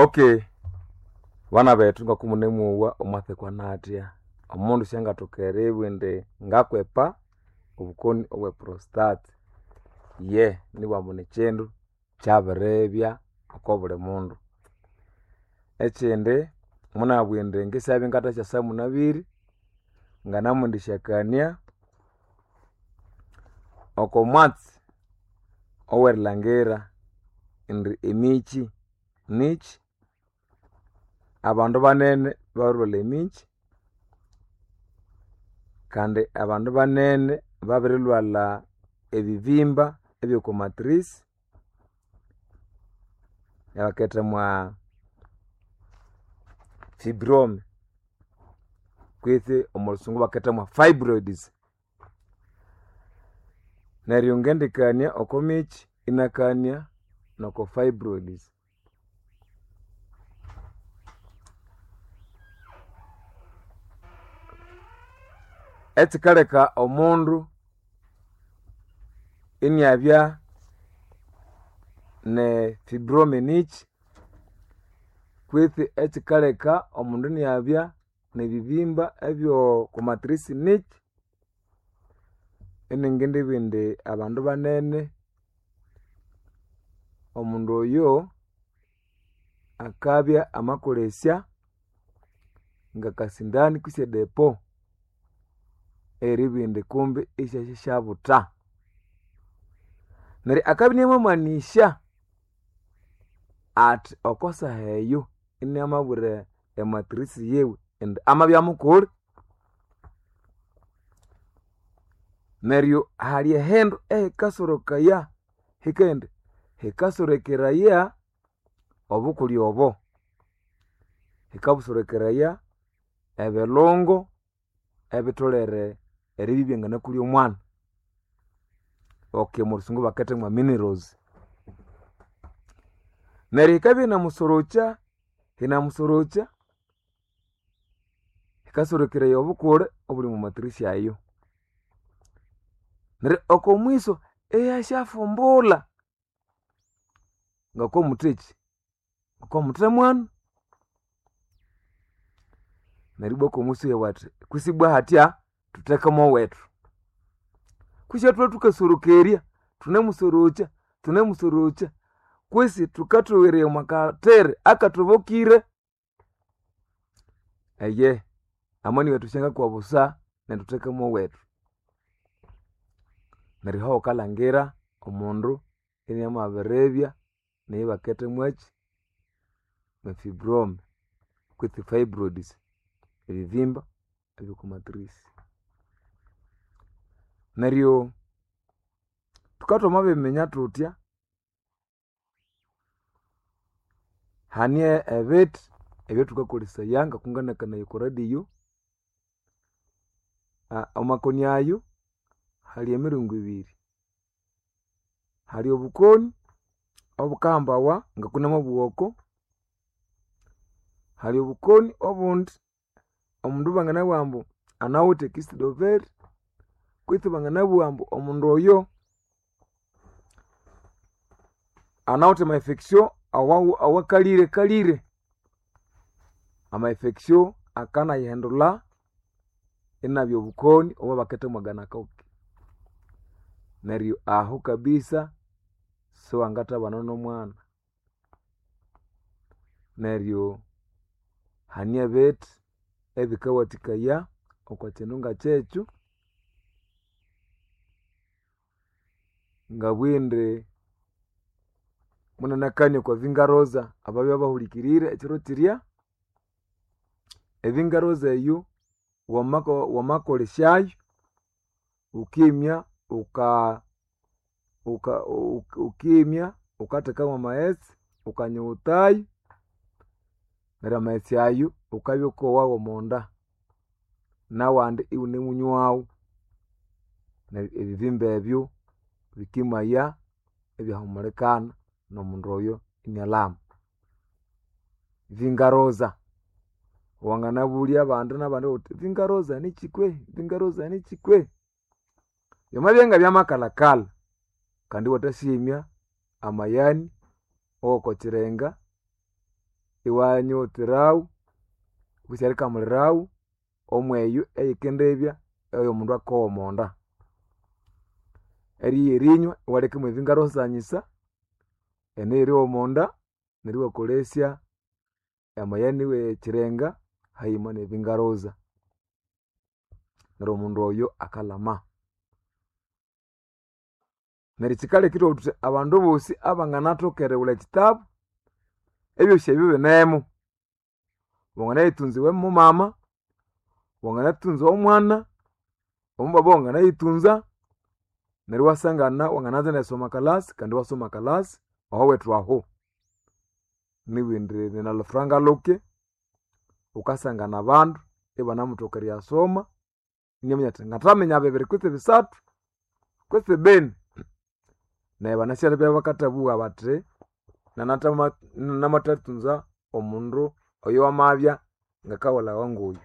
Okay, bana bethu ngakumune omwathekwa natya omundu syangathoka eribugha indi ngakwepa obukoni obwe prostate. Ye nibughambu nikyindu kyabiribya oko buli mundu. Ekyindi munabugha indi ngisyabya ingathasyasa munabwire nganamwendisyakania oko mwatsi owerilhangira indi emikyi nikyi, abandu banene babirilhwalha emikyi kandi abandu banene babirilhwalha ebibimba ebyoko matrix ebaketha mwa fibrome kwitsi omo lhusungu ibaketha mwa fibroids. Neryo ngendikania oko mikyi inakania noko fibroids. Ekyikaleka omundu iniabya ne fibrome nikyi kwitsi ekyikaleka omundu iniabya nebibimba ebyoko matrix nikyi, iningindibugha indi abandu banene omundu oyo akabya amakolesya ngakasindani kwisi edepo eyeribugha indi kumbi isyasyasyabutha. Neryo akabya inamamanisya athi oko saha eyo inamabwira ematrix yiwe indi amabya mukuli. Neryo hali ehindu ehikasorokaya hikaghenda hikasorekeraya obukuli obo, hikabusorekeraya ebilungo ebitholere eribya ibyanganakulya omwana. Okay omolhusungu baketha mwa minerals. Neryo yikabya yinamusorokya, yinamusorokya, yikasorekeraya obukule obuli omwa matrix ayo. Neryo oko mwiso ihyasyafumbulha ngokomutheki, ngokomuthe mwana. Neryo ibwa okomwiso iyabugha athi kwisi ibwa hatya thutheke mowethu. Kwisi ithwe thukasorokerya, thunemusorokya, thunemusorokya kwisi thukathoweraya omwa kathere akathobokire. Eyehe, amani wethu syangakwa busa neryo thutheke mowethu. Neryo ahukalhangira omundu inamabiribya neyibaketha mwaki mwe fibrome kwitsi fibroids ebibimba ebyoko matrix. Neryo thukabya thwamabiminya thuthya, hane ebithi ebyathukakolesaya ngokunganakanaya oko radio, amakoni ayo hali emiringo ibiri. Hali obukoni obukahambawa ngokunamabugha oko, hali obukoni obundi omundu banganabugha ambu anawithe ekisidoveri kwitsi banganabugha ambu omundu oyo anawithe ama infection awakalire kalire. Ama infection akanayihindulha inabya obukoni obwabaketha mwa gonocoque. Neryo ahu kabisa siwangathabana nomwana. Neryo hane ebithi ebikawathikaya oko kyindu ngakyekyo, ngabugha indi munanakania okwa vingaroza ababya bahulikirire ekyiro kyirya, evingaroza eyo wamakolesyayo wukimya wukimya wukatheka mwamaghetse wukanyughutayo neryo amaghetse ayo wukabya wukowa womonda nawandi iwunemunywawu. Neryo ebibimba ebyo bikimaya ibyahumulikana nomundu oyo inalhama. Vingaroza, wanganabulya abandi nabandi ghuthi vingaroza nikyi kwehi, vingaroza nikyi kwehi? Byamabya ngabyamakalhakalha kandi iwathasyimya amayani awoko kyirenga. Iwanyoterawu kwisi erikamulirawu omweyo eyikendibya eyomundu akowa omonda. Erigha erinywa iwaleka mwebingarosanyisa ene eryowa omonda neryo iwakolesya amayani wekirenga hayima nebingaroza. Neryo omundu oyo akalhama. Neryo kyikaleka ithwabugha thuthi abandu bosi abanganathoka erighulha ekitabu, ebyosi ebyo binemu. Wanganayitunza iwe mumama, wanganatunza omwana, omubaba wanganayitunza, neryo iwasangana wangananza nerisoma kalasi kandi iwasoma kalasi ahowethu aho. Nibindi nalufuranga luke, wukasangana abandu ibanamuthoka eriyasoma, inaminya athi ngathaminya bibiri kwitsi bisathu kwitsi bini. Neryo banasyalebya bakathabugha bathi namathatunza omundu oyo wamabya ngakawulhawa ngoyu.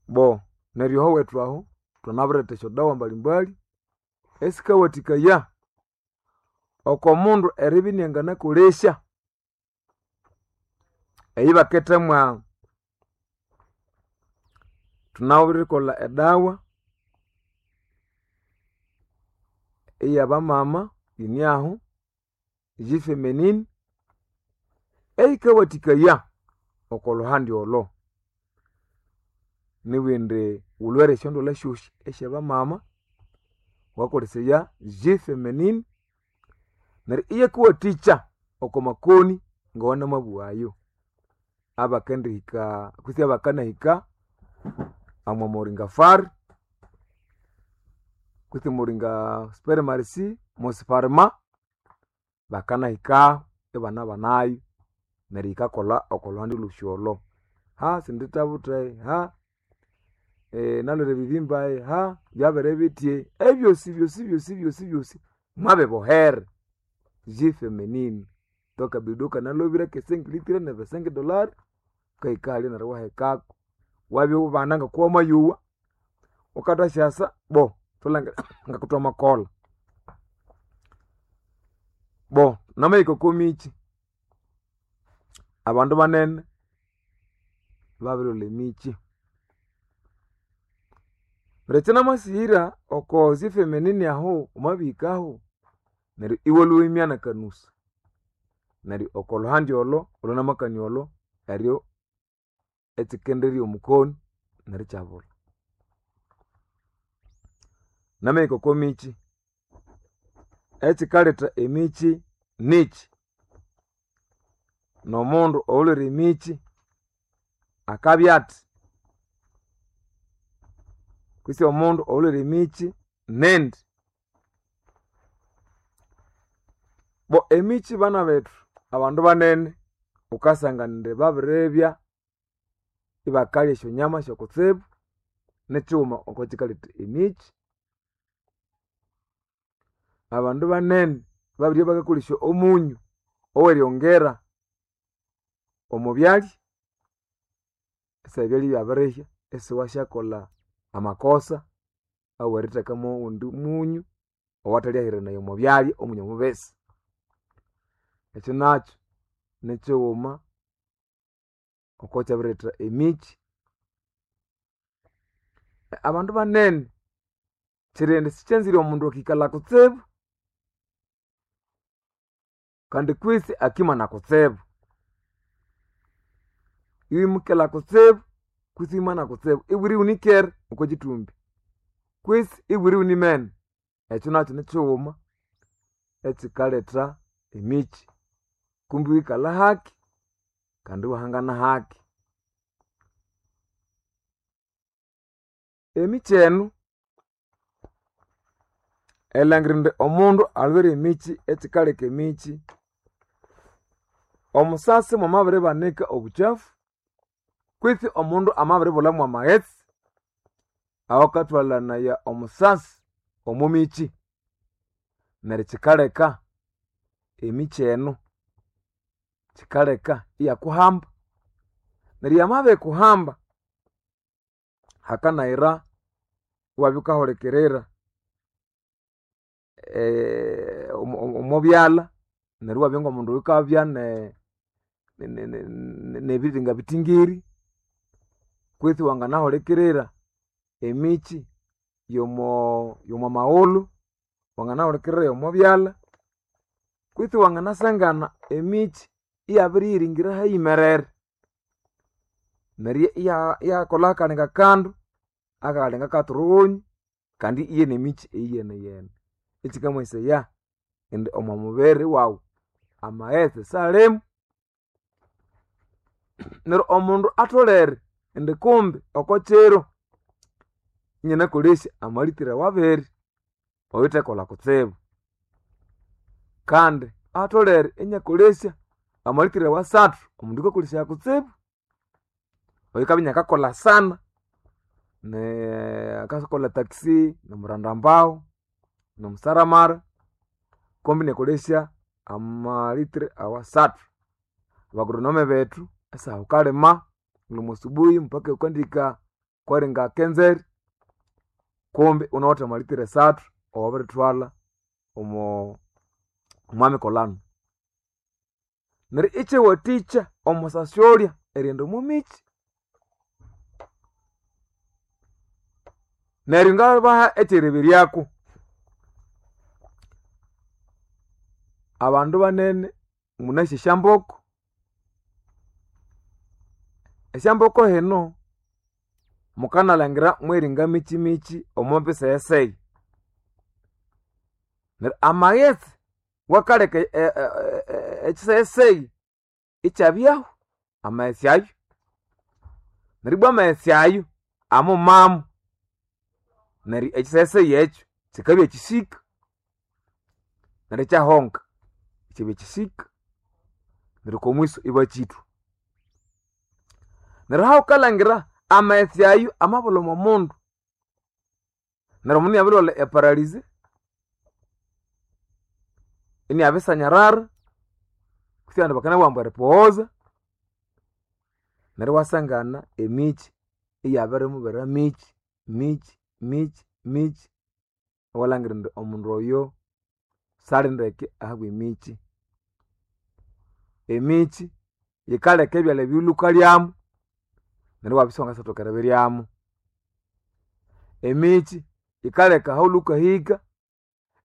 Bo neryo ahowethu aho thwamabiretha esyodawa mbalimbali esikawathikaya oko mundu eribya inanganakolesya eyibakethemwa thunawirikolha edawa eyabamama yiniahu G-feminine eyikawathikaya oko lhuhandi olho. Nibindi wulhwere esyondwalha syosi esyabamama wukakolesaya G-feminine neryo iyakuwathikya oko makoni ngawanamabugha ayo abakendihika kwitsi abakanahika omwa moringa fari kwitsi moringa spermarisi mosifarma bakanahikaho ibanabanayo neryo yikakolha oko lhuhandi lhosi olho. Ha sindithabutha ha nalhwere ebibimba ha byabere bithya ebyosi byosi byosi byosi byosi mwabibohere G-feminine twakabido kanalhobire kesengi litire nebesengi dolari wukahika halya neryo iwahekako wabya ibana ngokuwamayowa wukathasyasa bo thulangire ngakuthwamakolha. Bo namahika oko mikyi, abandu banene babirilhwalha emikyi. Neryo ekyinamasighira oko G-feminine ahu wamabihikahu neryo iwalhwa iwimya nakanusa. Neryo oko lhuhandi olho olwanamakania olho eryo ekyikenderya omukoni neryo ikyabulha. Namahika oko mikyi, ekyikaletha emikyi nikyi? Nomundu oyulhwere emikyi akabya athi? Kwitsi omundu oyulhwere emikyi nindi? Bo emikyi bana bethu abandu banene wukasangana indi babiribya ibakalya esyonyama syokutsibu nikighuma oko kyikaletha emikyi. Abandu banene babiribya bakakolesya omunyu oweryongera omo byalya, esaha ebyalya ibyabirihya isiwasyakolha amakosa awerithekamu owundi munyu owathalyahiranaya omo byalya omunyu omubisi. Ekyo nakyo nikighuma okwakyabiriretha emikyi. Abandu banene kyirighenda sikyanzire omundu akikalha kutsibu kandi kwisi akimana kutsibu. Iwimukelha kutsibu kwisi iwimana kutsibu ibwira iwunikere okwa kyithumbi kwisi ibwira iwunimene. Ekyo nakyo nikighuma ekyikaletha emikyi. Kumbi iwikalha haki kandi iwahangana haki. Emikyi enu erilhangira indi omundu alhwere emikyi ekyikaleka emikyi, omusasi mwamabiribanika obukyafu kwitsi omundu amabiribulha mwamaghetse awakathwalhanaya omusasi omo mikyi neryo kyikaleka emikyi eno kyikaleka iyakuhamba. Neryo yamabikuhamba hakanayira iwabya wukahulikirira omo byalha. Neryo iwabya ng'omundu oyukabya n'ebiringa bitingiri, kwitsi wanganahulikirira emikyi y'omo maghulhu, wanganahulikirira y'omo byalha, kwitsi wanganasangana emikyi iyabiriyiringira hayimerere. Neryo iyakolha akalinga kandu akalinga katurughunyu kandi iye n'emikyi eyiyeneyene. Ekyikamanyisaya indi omo mubiri wawu amaghetse salimu. Neryo omundu atholere indi kumbi oko kiro inanakolesya amalitiri awabiri owithekolha kutsibu. Kandi atholere inyakolesya amalitiri awasathu omundu oyukakolesaya kutsibu, oyukabya inakakolha sana, akakolha taxi, nimurandambahu, nimusaramara, kumbi inyakolesya amalitiri awasathu. Abagoronome bethu esaha wukalima lhuma subuhi mpaka wukandihika kweringa kenzeri, kumbi iwunawithe amalitiri asathu awabiritwalha omo mikolano. Neryo ikyawathikya omusasyolya erighenda omo mikyi. Neryo ngabaha ekyereberyako, abandu banene munasi esyamboko, esyamboko hino mukanalhangira mweringa mikyi mikyi omo bisegheseghe. Neryo amaghetse wakaleka ekyisegheseghe ikyabyahu amaghetse ayo. Neryo ibwa amaghetse ayo amumamu, neryo ekyisegheseghe ekyo kyikabya kyisika neryo ikyahonga, ikyabya kyisika neryo okwa mwiso ibakyithwa. Neryo ahawukalhangira amaghetse ayo amabulha omo mundu, neryo omundu iniabirilhwalha e paralyze, iniabisanyarara, kutse abandu bakanabugha ambu eripoghoza, neryo iwasangana emikyi iyabirimubera mikyi mikyi mikyi mikyi, iwalhangira indi omundu oyo sali ndeke ahabwa emikyi. Emikyi yikaleka ebyalya ebyawulhukalyamu neryo iwabya isiwangasyathoka eribiryamu. Emikyi yikaleka ahawulhukahika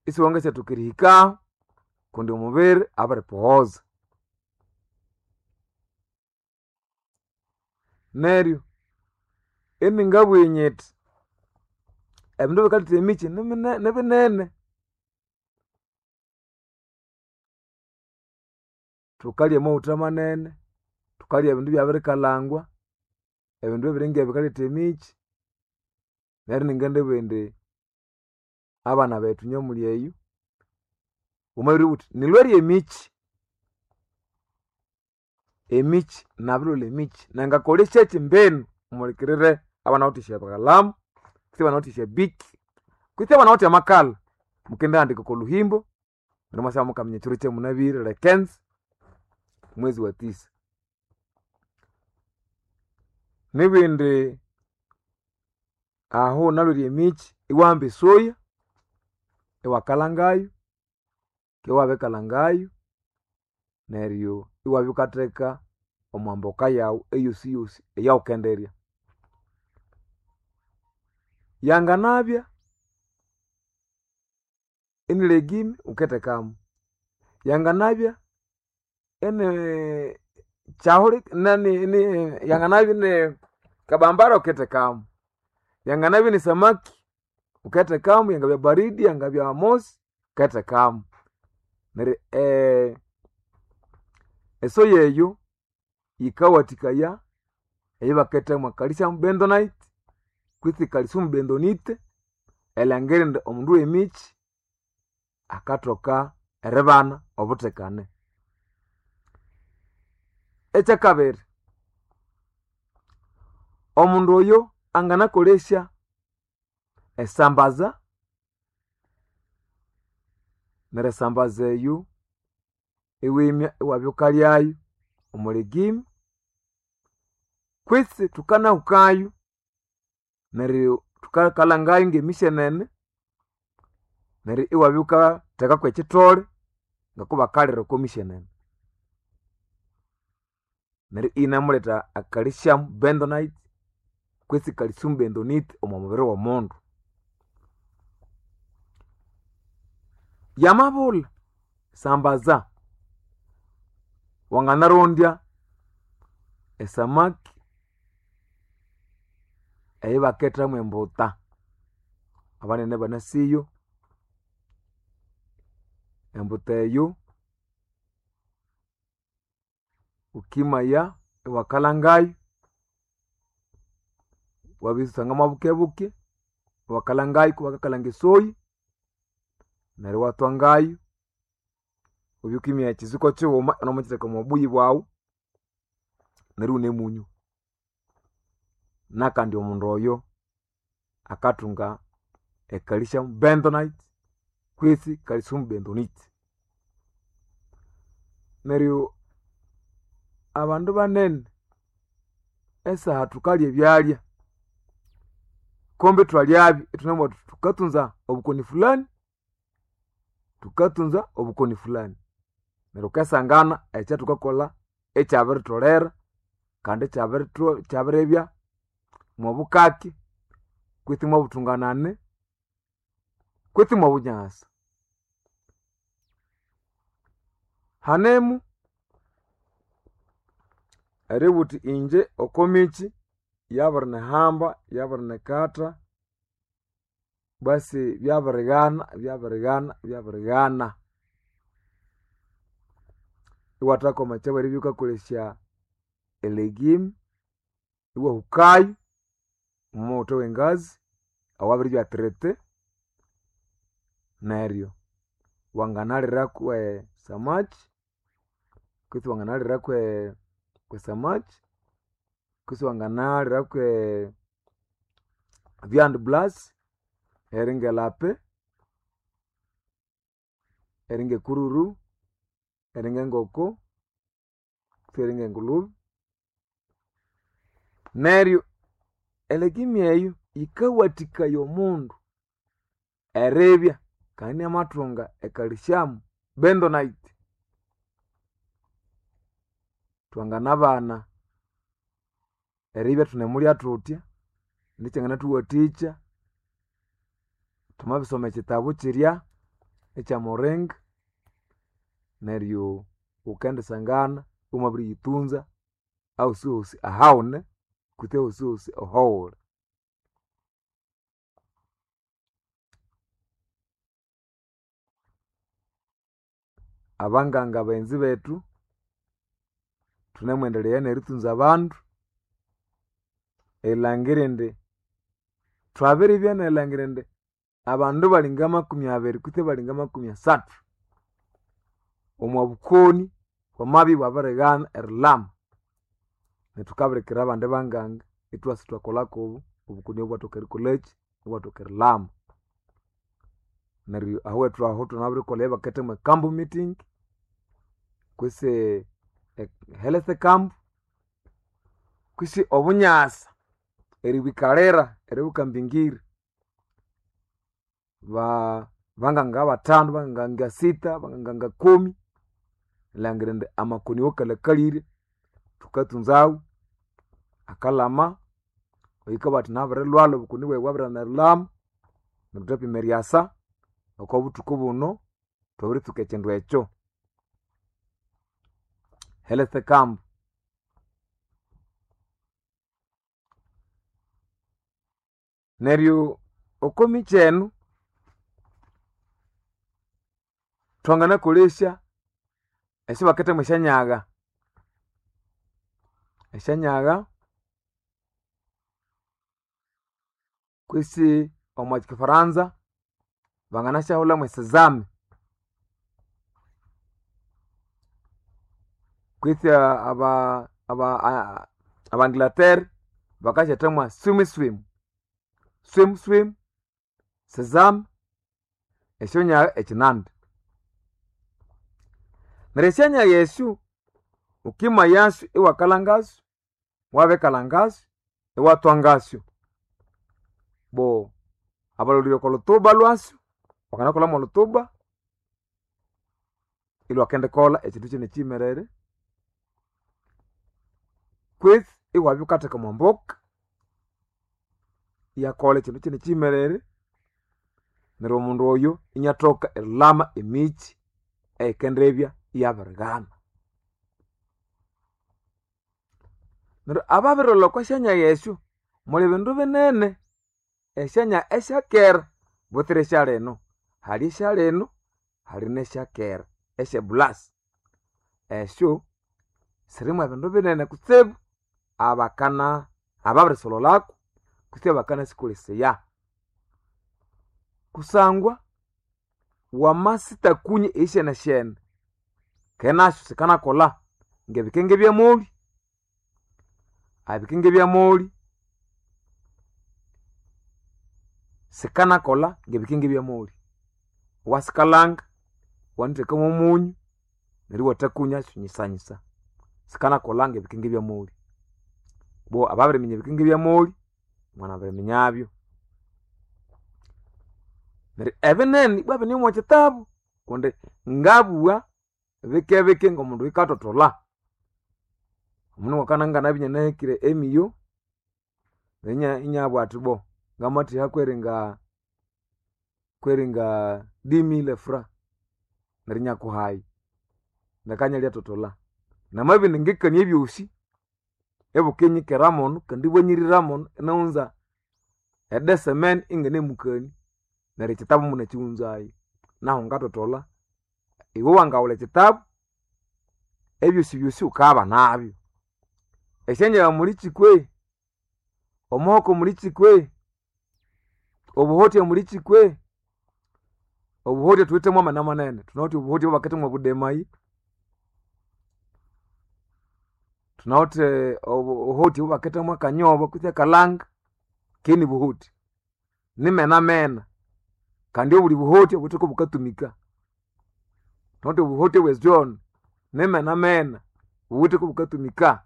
isiwangasyathoka erihikahu kundi omubiri abiripoghoza. Neryo iningabugha nyithi ebindu ebikaletha emikyi nibinene. Thukalya amaghutha manene, thukalya ebindu ibyabirikalhangwa, ebindu ebiringa ebyo bikaletha emikyi, neryo iningindibugha indi abana bethu inywe omuli eyo, wamabiribugha wuthi nilhwere emikyi, emikyi nabirilhwalha emikyi nangakolesyakyi mbinu muhulikirire abanawithe esyakalamu kutse abanawithe esya bic kutse abanawithe amakalha, mukendihandika oko luhimbo neryo imwasyabya mukaminya ekiro kyamunabire le 15 mwezi wa tisa. Nibindi ahu wunalhwere emikyi iwahamba esoya iwakalhangayo, wukibya wabirikalhangayo neryo iwabya wukatheka omwa mboka yawu eyosiyosi eyawukendirya. Yanganabya ini legume wukethekamu, yanganabya ini kyahuli yanganabya ini kabambara wukethekamu, yanganabya ini samaki wukethekamu, yangabya baridi yangabya mosi wukethekamu. Neryo esoya eyo yikawathikaya eyibakethamu calcium bentonite kwitsi calcium bentonite erilhangira indi omundu wemikyi akathoka eribana obuthekane. Ekyakabiri, omundu oyo anganakolesya esambaza, neryo esambaza eyo iwimya iwabya wukalyayo omo legume kwitsi thukanahukayo neryo thukakalhangayo ngemisyenene neryo iwabya wukatheka kwekithole. Ngakubakalira oko mishenene. Neryo inamuletha a calcium bentonite kwesi calcium bentonite omo mubiri w'omundu. Yamabulha sambaza, wanganarondya esamaki eyibakethamu embuta, abanene banasiyo. Embuta eyo wukimaya iwakalhangayo, wabisanga mwabukebuke, iwakalhangayo kubakakalhanga esoyi, neryo iwathwangayo, wabya wukimya ekyiziko kyighuma iwunemukyitheka omwa buyi bwawu, neryo iwunemunywa. Nakandi omundu oyo akathunga e calcium bentonite kwisi calcium bentonite. Neryo abandu banene esaha thukalya ebyalya kumbi ithwalyabyo ithunabugha thuthi thukatunza obukoni fulani, thukatunza obukoni fulani. Neryo wukasangana ekyathukakolha ikyabiritholera kandi ikyabiribya mwobukaki kwitsi mwobuthunganani kwitsi mwobunyasa. Hanemu eribugha wuthi inje okomikyi yabirinihamba, yabirinikatha, basi byabirighana, byabirighana, byabirighana. Iwathakoma ekyabweribya wukakolesya elegume, iwahukayo omwa mughutha wengazi awabiribya traité, neryo wanganaliraku esamaki kwitsi wanganaliraku esamaki kwitsi wanganaliraku viande blanche eringe lape, eringe kururu, eringe ngoko, kwitsi eringe ngulube. Neryo elegume eyo yikawathikaya omundu eribya kandi inamathunga e calcium bentonite. Twanganabana eribya ithunemulya thuthya nikyanganathuwathikya thwamabisoma ekyitabu kyirya ekya moringa, neryo wukendisangana iwamabiriyitunza ahosihosi ahawune kutse ahosihosi ahawuli. Abanganga baghenzi bethu, thunemwendelea neritunza abandu erilhangira indi thwabiribya nerilhangira indi abandu balinga makumi abiri kutse balinga makumi asathu omwa bukoni bwamabya ibwabirighana erilhama. Neryo thukabirikira abandi banganga ithwasa ithwakolha kubo obukoni obo ibwathoka erikolhakyi, ibwathoka erilhama. Neryo ahawethu aho thwamabirikolha eyabakethamu e camp meeting kwisi health camp kwisi obunyasa eribwikalira eribukambingiri. Banganga bathanu, banganga sita, banganga kumi, erilhangira indi amakoni awakalhakalire thukatunzawu akalhama, oyukabugha athi nabirilhwalha obukoni bwayi bwabirighana erilhama, neryo thwapima eryasa oko buthuku buno thwabiritsuka ekyindu ekyo. Health camp. Neryo oko mikyi enu thwanganakolesya esyabakethamu esyanyagha, esyanyagha kwisi omwa kifaranza banganasyahulhamu esesame kwitsi abangilateri bakasyethamu swim swim, swim swim, sesame, esyonyagha ekyinandi. Neryo esyanyagha esyo wukimayasyo iwakalhangasyo, wabirikalhangasyo iwathwangasyo. Bo abalholire oko lhutuba lwasyo, wanganakolha mwolhutuba. Ilwakendikolha ekyindu kine kiyimerere kwitsi iwabya wukatheka omwa mboka iyakolha ekyindu kine kiyimerere neryo omundu oyo iniathoka erilhama emikyi eyikendibya iyabirighana. Neryo ababirilholha okwa syanyagha esyo muli bindu binene, esyanya esyakera butsira esyalino. Hali esyalino hali nesyakera esye bulasi. Esyo sirimu ebindu binene kutsibu abakana ababirisolholako kutse abakanasikolesaya. Kusangwa wamasitakunya eyisheneshene ke nasyo sikanakolha ngebikenge byamoli, ebikenge byamoli sikanakolha ngebikenge byamoli. Wasikalhanga iwanatheka mwomunyu neryo iwathakunyasyo nyisanyisa. Sikanakolha ngebikenge byamoli. Bo ababiriminya ebikenge byamoli mwanabiriminyabyo. Neryo ebinene ibwa bine omwa kitabu kundi ngabugha bikebike ngomundu oyukatotholha. Omundu mwakana nganabya inanahekire emiyo inabugha athi bo ngamatheha kweringa 10000 francs neryo inyakuhayo leka inyalyatotholha. Namabya indi ngikania ebyosi ibukinyikera muno kandi ibwanyirira muno inaghunza edesemeni inginemukania neryo ekyitabu munakighunzayo. Nahu ngatotholha iwe wangaghulha ekyitabu ebyosibyosi wukabana esyangyagha mulikyi kwei, omuhoko mulikyi kwei, obuhotya mulikyi kwei. Obuhotya thuwithe mwamena manene, thunawithe obuhotya obwabaketha mwabudemayi, thunawithe obuhotya obwabaketha mwakanyobo kutse akalanga keni buhotya. Nimena mena kandi obuli buhotya buwithe kubukatumika. Thunawithe obuhotya obwe zone nimena mena buwithe kubukatumika.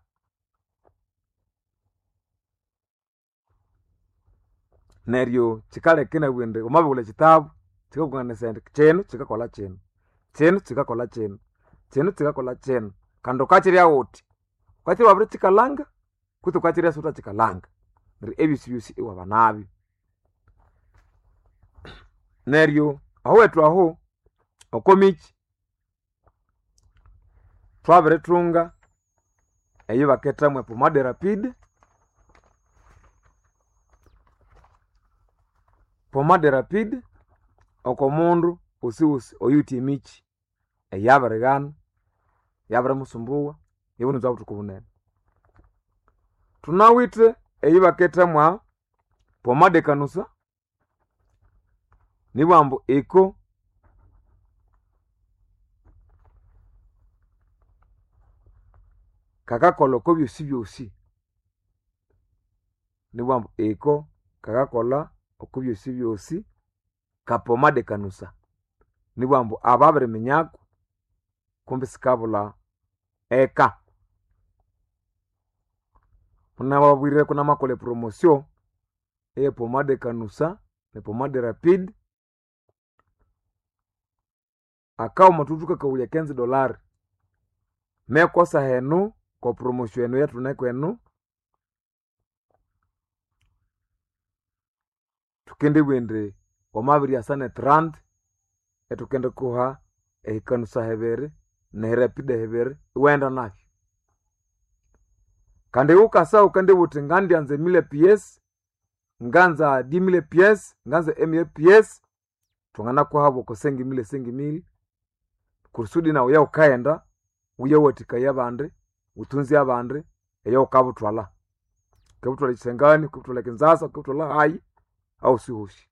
Neryo kyikaleka inabugha indi wamabirighulha ekyitabu kyikakukanganasaya indi kyino kyikakolha kyino, kyino kyikakolha kyino, kyino kyikakolha kyino kandi wukakyirya wuthi, wukakyirya wabirikyikalhanga kutse wukakyirya isiwuthakyikalhanga. Neryo ebyosibyosi iwabanabyo. Neryo ahowethu aho oko mikyi thwabirithunga eyibaketha mwe pomade rapide. Pomade rapide oko mundu wosiwosi oyuwithe emikyi eyabirighana, yabirimusumbuwa iwunza buthuku bunene. Thunawithe eyibaketha mwa pomade kanusa nibugha ambu iko kakakolha oko byosibyosi. Nibugha ambu iko kakakolha oko byosibyosi ka pomade kanusa. Nibugha ambu ababiriminyako kumbi sikabulha eka. Munababwire kunamakolha epromotion eye pomade kanusa ne pomade rapide akawuma thuthuka kawulya $15 mekosa henu ko promotion enu eyathuneko enu thukendibugha indi wamabiryasa ne 30 ithukendikuha ehikanusa hibiri nerapide hibiri iwaghenda nabyo. Kandi wukasa wukendibugha wuthi ngandyanza emille piece, nganza 10000 piece, nganza emia piece, thwanganakuha bwoko 5000 5000 kusudi nawu eyawukaghenda wuyawathikaya abandi, wuthunze abandi eyawukabuthwalha. Wukabuthwalha ekyisangani, wukabuthwalha Kinzasa, wukabuthwalha hayi ahosihosi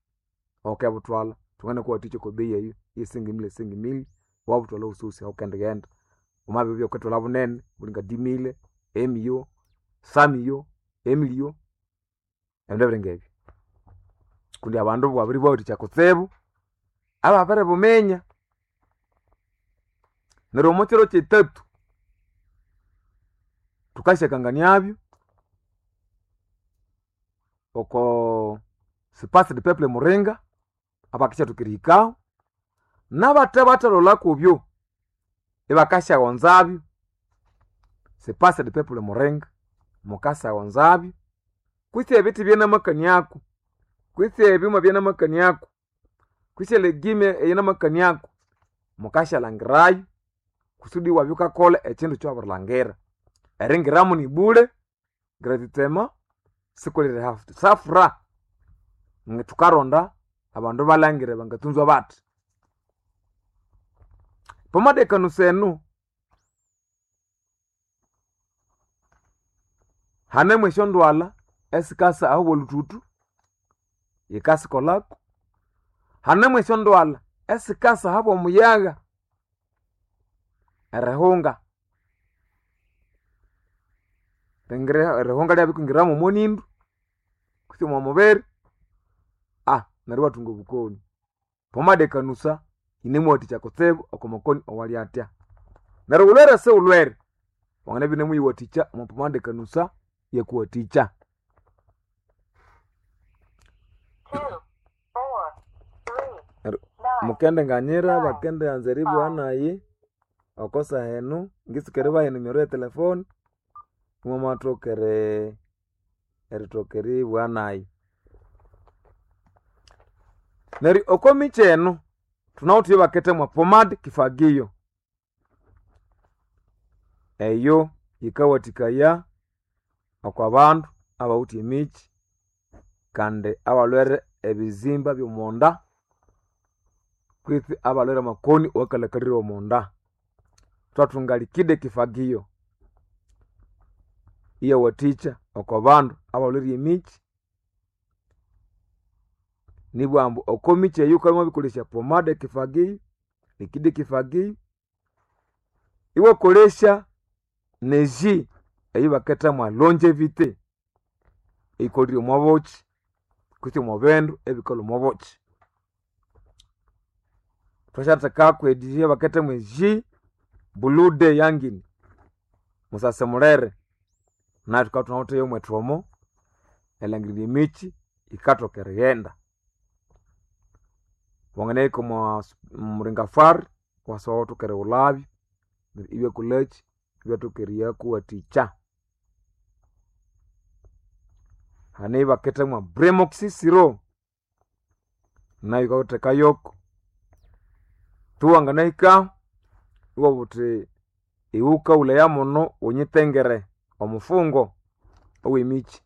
awukabuthwalha thwanganakuwathikya okwa bei eyo eye 5000 5000 iwabuthwalha ahosihosi ahawukendighenda. Wamabibya wukathwalha bunene buli nga 10000, emiyo, samiyo, emiliyo ebindu ebiringa ebyo. Kundi abandu bwabiribawathikya kutsibu ababiribuminya. Neryo omo kiro kyithatu thukasyakanganiabyo oko Space de Peuple Muringa abakisyathokera erihikaho nabathe bathalholha kubyo. Ibakasyaghonzabyo sipasa de people muringa mukasaghonzabyo kwitsi ebithi byanamakaniaku kwitsi ebyuma byanamakaniaku kwitsi elegime eyinamakaniaku mukashalangirayo kusudi iwabya wukakolha ekyindu ekyawabirilhangira. Eringiramu nibule gratuitement sikuliri safura thukaronda abandu balhangire bangatsunzwa bathi. Pomade ekanusa enu hanemu esyondwalha esikasa aho bolhuthuthu yikasikolhaku, hanemu esyondwalha esikasa ahabwa omuyagha erihunga, erihunga ryabirikwingirira mwomonindu kutse omwamubiri neryo iwathunga obukoni. Pomade ekanusa yinemuwathikya kutsibu oko makoni awali athya. Neryo wulhwere siwulhwere wanganabya inemuyiwathikya omwa pomade ekanusa iyakuwathikya. 2, 4, 3, Neryo 9, mukendinganyira 9, bakendianza eribugha 5. nayi oko saha enu ngitsuka eribaha enimero ye telefone imwamathoka erithoka eribugha nayi. Neryo oko mikyi enu thunawithe eyabakethemwa pomade kifagio. Eyo yikawathikaya okwa bandu abawithe emikyi kandi abalhwere ebizimba by'omonda kwitsi abalhwere amakoni awakalhakalire omonda. Thwathunga liquide kifagio iyawathikya oko bandu abalhwere emikyi nibugha ambu oko mikyi eyo wukabya wamabirikolesya pomade kifagio, liquide kifagio, iwakolesya neji eyibakethemwa longevity eyikolire omwa bukyi kutse omwa bindu ebikalhwa omwa bukyi. Thwasyathekako ediji eyabakethemwa eji blue day yangini musase mulere nayu thukabya thunawithe yomwethu omo erilhangirirya emikyi yikathoka erighenda. Wanganahika omwa muringafari iwasaba iwathoka erighulhabyo neryo ibyakolhakyi ibyathoka eriyakuwathikya. Hane eyabakethemwa bremoxisiro nayu wukathekayoko. Tu wanganahikahu iwabugha wuthi iwe wukawulhaya muno wunyitengere omufungo owemikyi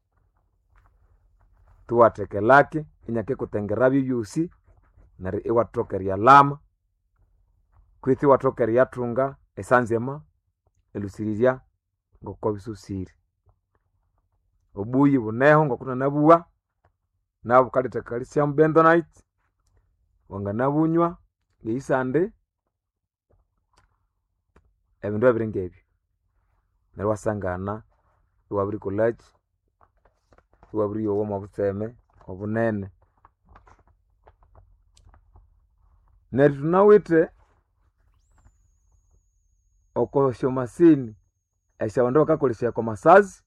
thuwatheka elaki inyakikutengerabyo ebyosi neryo iwathoka eriyalhama kwitsi iwathoka eriyathunga esanzima erilhusirirya ngoko bisosire. Obuyi buneho ngokunanabugha nabwo bukaletha calcium bentonite wanganabunywa ngeisande ebindu ebiri ngebyo neryo iwasangana iwabirikolhaki iwabiriyowa omwa butseme obunene. Neryo thunawithe oko syomasini esyabandu bakakolesaya oko masazi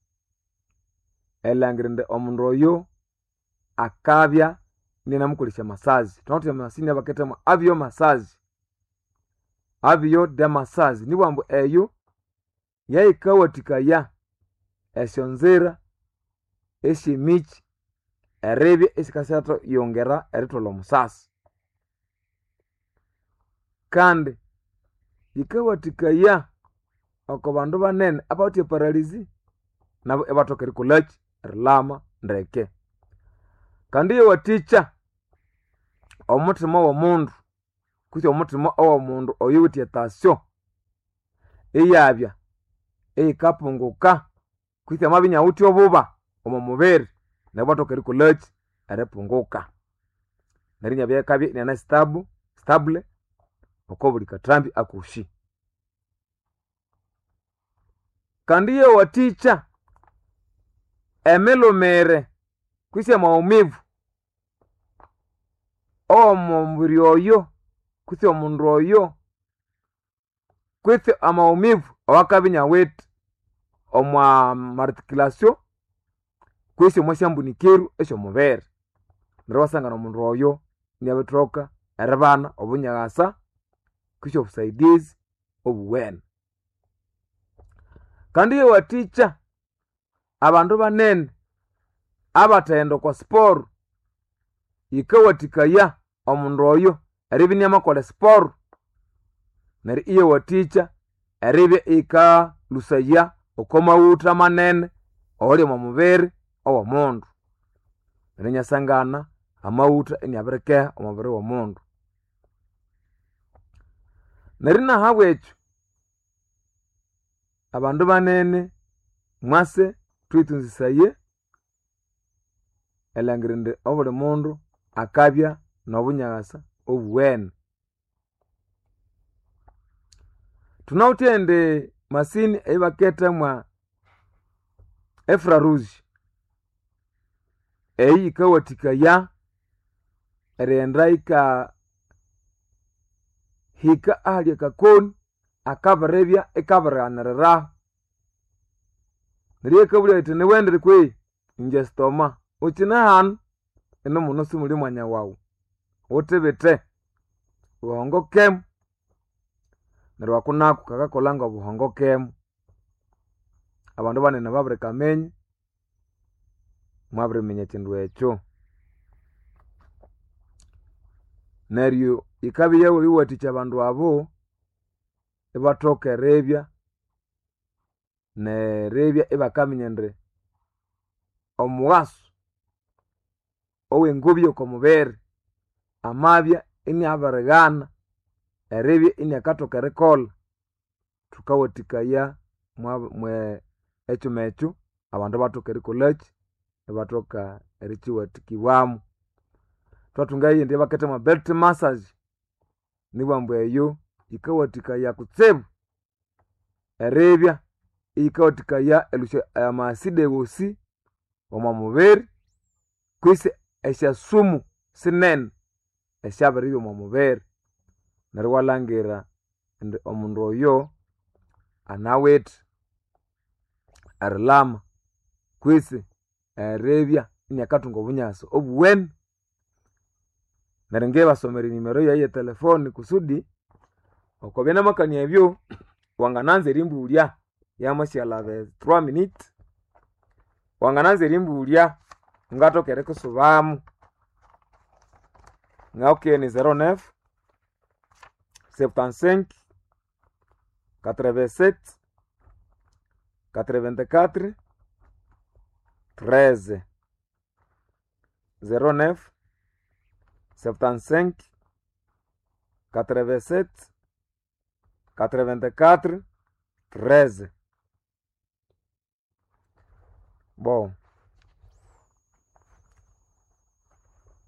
erilhangira indi omundu oyo akabya ininamukolesya masazi. Thunawithe emasini eyabakethemwa avio masazi, avio de masazi nibugha ambu eyo yayikawathikaya esyonzira esyemikyi eribya isikasyayongera eritholha omusasi. Kandi yikawathikaya oko bandu banene abawithe eparalizi nabo ibathoka erikolhaki erilhama ndeke. Kandi iyawathikya omuthima w'omundu kutse omuthima owomundu oyuwithe etasyo iyabya iyikapunguka kutse amabya inawithe obuba omo mubiri neryo ibwathoka erikolhaki eripunguka. Neryo inyabya akabya iniane stable stable oko buli kathambi akosi. Kandi iyawathikya emilhumire kwisi amaumivu ow'omubiri oyo kutse omundu oyo kwitsi amaumivu awakabya inawithe omwa marticulation kwisi omwa syambunikiru esy'omubiri. Neryo iwasangana omundu oyo iniabithoka eribana obunyaghasa kwisi obusaidizi. obuwene. Kandi yewathikya abandu banene abathagenda okwa siporo, yikawathikaya omundu oyo eribya iniamakolha esiporo, neryo iyawathikya eribya iyikalhusaya oko maghutha manene awali omo mubiri owomundu. Neryo inyasangana amaghutha iniabirikeha omo mubiri womundu. Neryo nahabwekyo abandu banene mwase thuyithunzisaye erilhangira indi obuli mundu akabya nobunyakasa obuwene. Thunawithe indi masini eyibaketha mwa efraruzi, eyi yikawathikaya erighenda yika hika ahali akakoni akabiribya ikabirighaniriraho. Neryo iyakabulya yithi niwendire kwehi? Ingye stoma. Wukyine hanu? Inu muno simuli mwanya wawu, wuthibithe wuhongokemu. Neryo aku naku kakakolha ngobuhongokemu. Abandu banene babirikaminya, mwabiriminya ekyindu ekyo. Neryo yikabya yabiriwathikya abandu abo ibathoka eribya neribya ibakaminya indi omughaso owengobya oko mubiri amabya iniabirighana eribya iniakathoka erikolha, thukawathikaya ekyuma ekyo abandu ibathoka erikolhakyi, ibathoka erikyiwathikibwamu. Thwathunga eyindi eyabaketha mwa belt massage, nibughambu eyo yikawathikaya kutsibu eribya iyikawathikaya erilhusya amaside wosi omo mubiri kwisi esyasumu sinene esyabiribya omo mubiri. Neryo iwalhangira indi omundu oyo anawithe erilama kwisi eribya iniakathunga obunyasi obuwene. Neryo ngibasomera enimero yayi etelefoni kusudi okwabya namakania ebyo wangananza erimbulya yamasyalaba 3 minutes, wangananza erimbulya ngathoka erikusubamu. Ngawukiye ni 09 75 87 84 13, 09 75 87 84 13. Bom,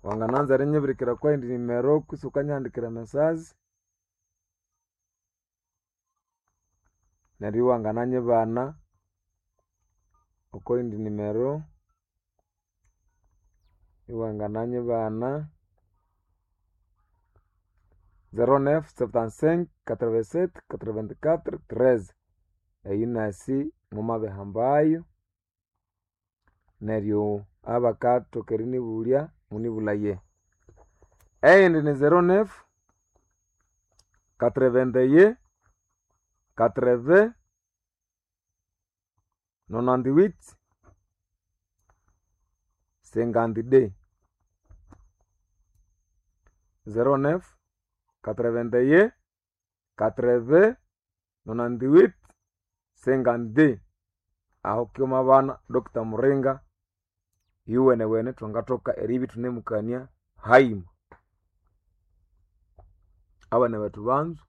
wangananza erinyibirikira kwayindi nimero kwisi wukanyihandikira message neryo iwangananyibana okwayindi nimero iwangananyibana 09 75 87 84 13. Eyu nasi mumabihambayo neryo abakathoka erinibulya munibulaye. Eyindi ni 09 81 80 98 52, 09 81 80 98 52. Aho kyoma bana Dr. Muringa yuwenewene thwangathoka eribya ithunemukania haima. Abana bethu banzu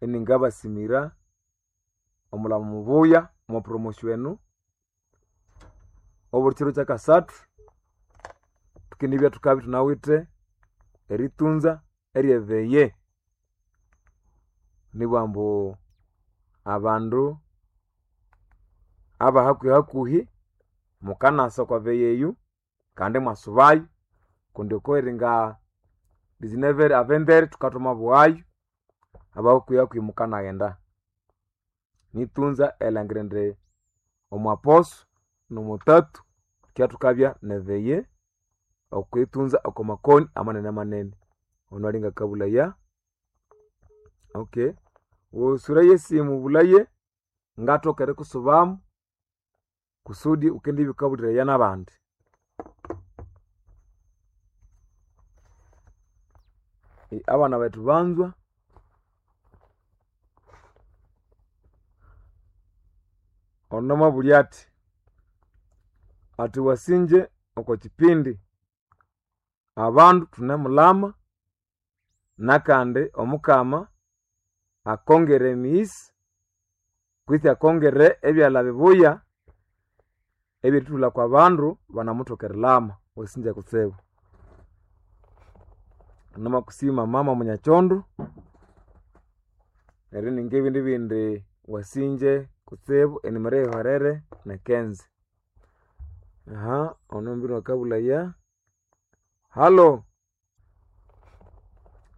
iningabasimira omulamo mubuya omo promotion enu obuli kiro kyakasathu thukendibya thukabya thunawithe eritunza eryeveye. Nibugha ambu abandu abahakuhi hakuhi mukanasa okwa veye eyu kandi imwasubayo kundi okweringa 19 avendere thukathomabughayo abahakuhi hakuhi mukanaghenda. Nitunza erilhangira indi omwaposo nomutatu thukibya thukabya neveye okwitunza oko makoni amanene manene. Ono ali ngakabulaya. Okay, usuraye esimu bulaye ngatoka erikusubamu kusudi ukendibya ukabuliraya n'abandi. Abana bethu banzwa, ono mwabulya athi, athi wasinje oko kipindi abandu thunemulama nakandi Omukama akongere emighisa kwitsi akongere ebyalha bibuya ebyerithulha kwa bandu banamuthoka erilama. Wasinja kutsibu. Namakusima mama munyakyondo neryo ninga ebindi bindi wasinje kutsibu enimero eyihwerere nekenze. Ono mbino akabulaya. Halo,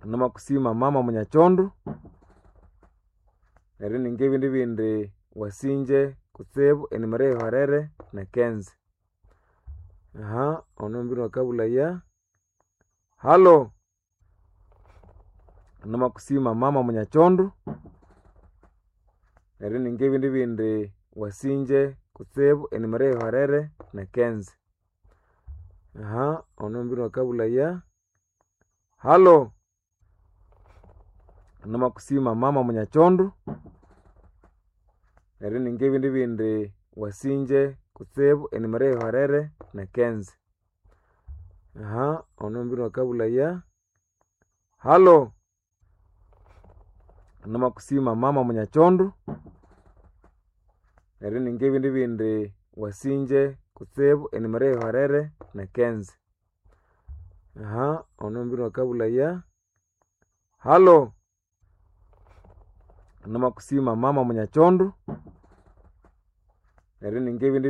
namakusima mama munyakyondo neryo ninga ebindi bindi wasinje kutsibu enimero eyihwerere nekenze. Ono mbino akabulaya. Halo, namakusima mama munyakyondo neryo ninga ebindi bindi wasinje kutsibu enimero eyihwerere nekenze. Ono mbino akabulaya. Halo, namakusima mama munyakyondo neryo ninga ebindi bindi wasinje kutsibu enimero eyihwerere nekenze. Ono mbino akabulaya. Halo, namakusima mama munyakyondo neryo ninga ebindi bindi wasinje kutsibu enimero eyihwerere nekenze. Ono mbino akabulaya. Halo, namakusima mama munyakyondo neryo ninga ebindi.